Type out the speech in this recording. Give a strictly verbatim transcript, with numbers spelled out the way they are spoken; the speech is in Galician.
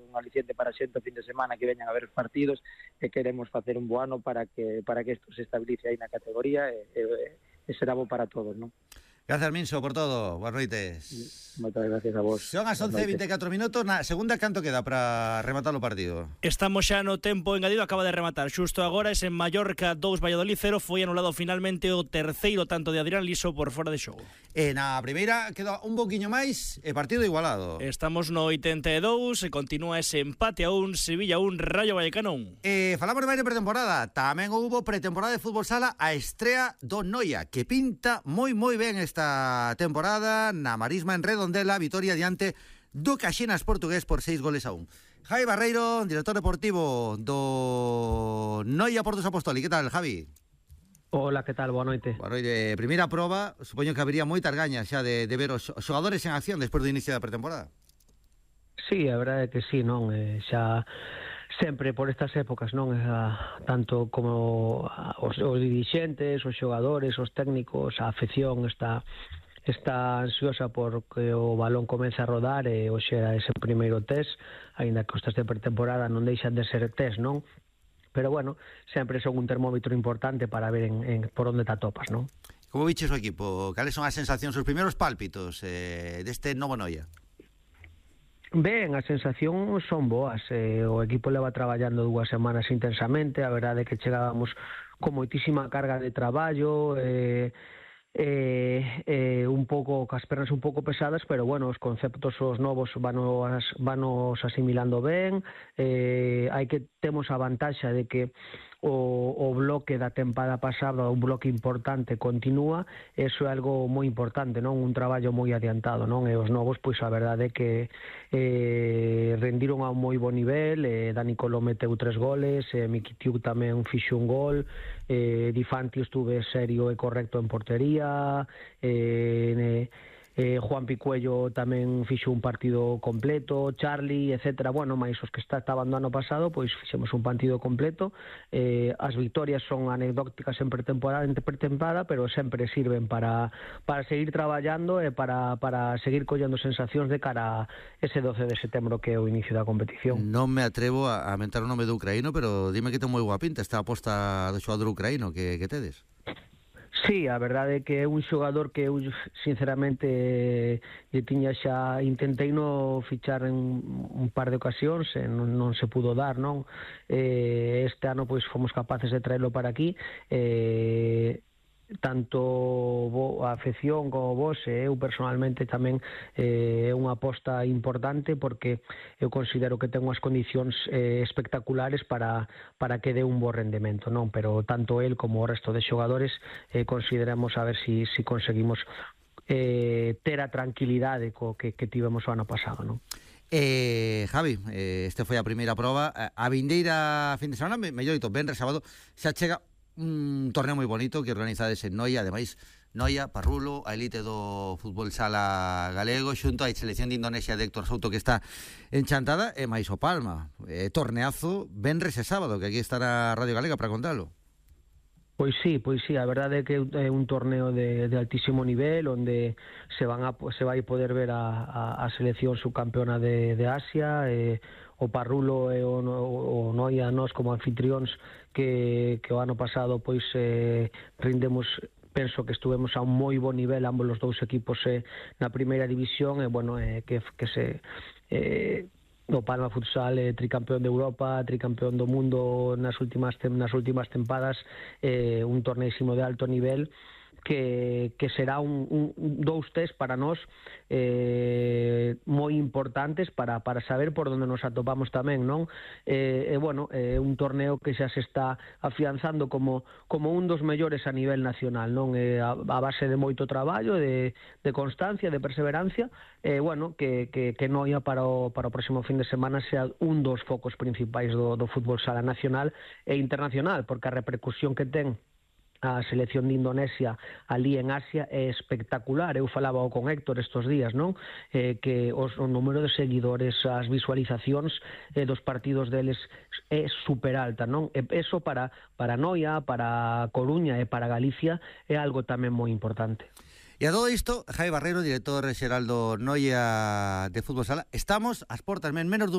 un aliciente para xente o fin de semana que veñan a ver os partidos, e queremos facer un bo ano para que para que isto se estabilice aí na categoría e, e, e será bo para todos, non? Gracias, Minso, por todo. Buenas noites. Moitas gracias a vos. Son as once e vinte e catro minutos. Na segunda, canto queda para rematar o partido? Estamos xa no tempo engadido, acaba de rematar xusto agora. Es en Mallorca dous, Valladolid cero. Foi anulado finalmente o terceiro tanto de Adrián Liso por fora de xogo. E na primeira queda un poquinho máis e partido igualado. Estamos no oitenta e dous e continúa ese empate a un, Sevilla un, Rayo Vallecano un. E falamos de máis de pretemporada. Tamén houbo pretemporada de fútbol sala, a estrea do Noia, que pinta moi moi ben esta temporada na Marisma en Redondela, vitoria diante do Caxinas portugués por seis goles a un. Javi Barreiro, director deportivo do Noia Portos Apóstoli. Que tal, Javi? Hola, que tal? Boa noite. Boa noite. Primeira proba, supoño que habería moitas gañas xa de, de ver os xogadores en acción despois do inicio da pretemporada. Sí, a verdade é que sí, non? Eh, xa sempre por estas épocas, non? Eh, tanto como os, os dirixentes, os xogadores, os técnicos, a afección está está ansiosa porque o balón comeza a rodar e hoxe era ese primeiro test, aínda que os test de pretemporada non deixan de ser test, non? Pero bueno, sempre son un termómetro importante para ver en, en por onde te atopas, non? Como viches o equipo? Cales son as sensacións, os primeiros pálpitos eh, deste novo Noia? Ben, as sensacións son boas. Eh, o equipo leva traballando dúas semanas intensamente. A verdade é que chegábamos con moitísima carga de traballo, eh, eh, eh, un pouco, cas pernas un pouco pesadas, pero bueno, os conceptos os novos vanos, vanos asimilando ben. Eh, hai que temos a vantaxa de que o, o bloque da tempada pasada, un bloque importante, continúa. Eso é algo moi importante, non? Un traballo moi adiantado, non? E os novos, pois a verdade é que eh, rendiron a un moi bo nivel. eh, Dani Coló meteu tres goles, eh, Mikitiu tamén fixo un gol, eh, Di Fanti estuve serio e correcto en portería, eh, ne, Eh, Juan Picuello tamén fixo un partido completo, Charlie, etcétera. Bueno, máis os que está, estaban do ano pasado, pois fixemos un partido completo. Eh, as victorias son anecdóticas en pretemporada, en pretemporada, pero sempre sirven para para seguir traballando e para para seguir collendo sensacións de cara a ese doce de setembro que é o inicio da competición. Non me atrevo a, a mentar o nome do ucraíno, pero dime que ten moi boa pinta esta aposta do xogador ucraíno que, que tedes. Sí, a verdade é que é un xogador que eu sinceramente lle tiña xa, intentei no fichar en un par de ocasións e non, non se pudo dar, non? Eh, este ano pois fomos capaces de traerlo para aquí. Eh, tanto a afección como vos e eu personalmente tamén é eh, unha aposta importante porque eu considero que ten unhas condicións eh, espectaculares para, para que dé un bo rendemento, non? Pero tanto el como o resto de xogadores eh, consideramos a ver si, si conseguimos eh, ter a tranquilidade co que, que tivemos o ano pasado, non? Eh, Javi, eh, este foi a primeira proba. A vindeira fin de semana, mellor dito, venres sábado, xa chega un torneo moi bonito que organizades en Noia. Ademais, Noia, Parrulo, a elite do fútbol sala galego, xunto á selección de Indonesia de Héctor Souto, que está enchantada, e máis o Palma. Eh, torneazo venres e sábado, que aquí estará Radio Galega para contalo. Pois sí, pois sí, a verdade é que é un torneo de, de altísimo nivel onde se van a, se vai poder ver a, a, a selección subcampeona de, de Asia, e o Parrulo e o, o, o Noia, nós como anfitrións que, que o ano pasado pois eh, rindemos, penso que estuvemos a un moi bo nivel ambos os dous equipos eh, na primeira división, e bueno, eh, que, que se eh, o Palma Futsal é tricampeón de Europa, tricampeón do mundo nas últimas nas últimas tempadas, eh, un torneísimo de alto nivel que, que será un, un, dous test para nós eh, moi importantes para, para saber por onde nos atopamos tamén, non? E eh, eh, bueno, é eh, un torneo que xa se está afianzando como, como un dos mellores a nivel nacional, non? Eh, a, a base de moito traballo, de, de constancia, de perseverancia, e eh, bueno, que, que, que Noia para o, para o próximo fin de semana sea un dos focos principais do, do fútbol sala nacional e internacional, porque a repercusión que ten a selección de Indonesia ali en Asia é espectacular. Eu falaba con Héctor estos días, non? Eh, que os, o número de seguidores, as visualizacións eh, dos partidos deles é super alta, non? E eso para, para Noia, para Coruña e para Galicia é algo tamén moi importante. E a todo isto, Javi Barreiro, director xeral do Noia de Fútbol Sala, estamos ás portas, men menos dun